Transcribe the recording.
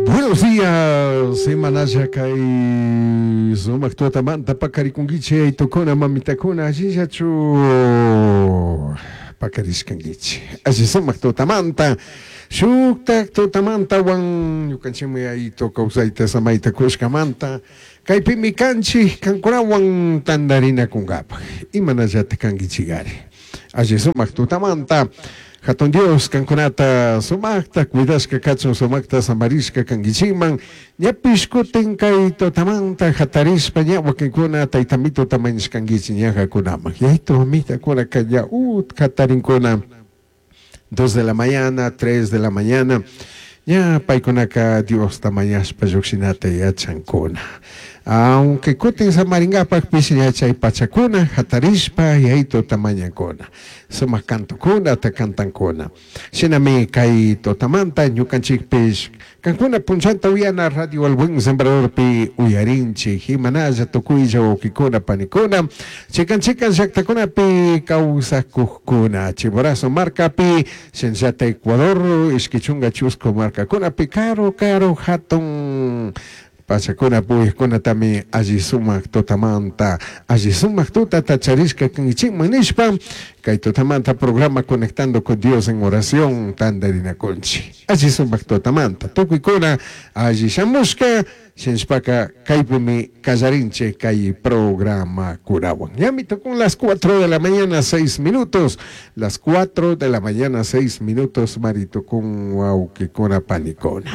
Buenos días, semanalla kay sumaq tutamanta paqarikunkichik aytukuna mamitakuna allillachu paqarishkankichik alli sumaq tutamanta shuktak tutamantawan ñukanchikmi aytu kawsayta samayta kushkamanta kaypimi kanchik kankunawan tantarinakunkapaq imanallatak kankichikari Alli sumak tutamanta, Jatun Dios kankunata sumakta cuidashka kachun, sumakta samarishka kankichikman. Ñapish kutin kay tutamanta jatarishpa ña wakinkuna taytamituta mañashkankichik ñajakunaman. Yaytu mamitakunaka ña utka jatarinkuna. Dos de la mañana, tres de la mañana, ña paicunaca Diosta mañashpa llujshinata yachancuna. Aunque cutin samaringapajpish ña chai pachacuna jatarishpa yaituta mañancuna. Sumaj cantocunata cantancuna. Shinami cai tutamanta ñucanchijpish Cancuna punllanta uyana Radio El Buen Sembradorpi uyarinchij, imanalla tucuilla huauquicuna panicuna, chican chican llactacunapi causacujcuna, Chimborazo marcapi, shinallata Ecuador ishqui chunga chuscu marcacunapi caru caru jatun pachacuna puyujcunatami alli sumaj tutamanta, alli sumaj tutata charishca canguichijman nishpa, cai tutamanta programa Conectando con Dios en Oración tandarinacunchij. Alli sumak tutamanta tucuicuna alli shamushca shinashpaca caipimi callarinchij cai programacunahuan. Ñami tucun las cuatro de la mañana seis minutos, las cuatro de la mañana seis minutos mari tucun huauquicuna panicuna.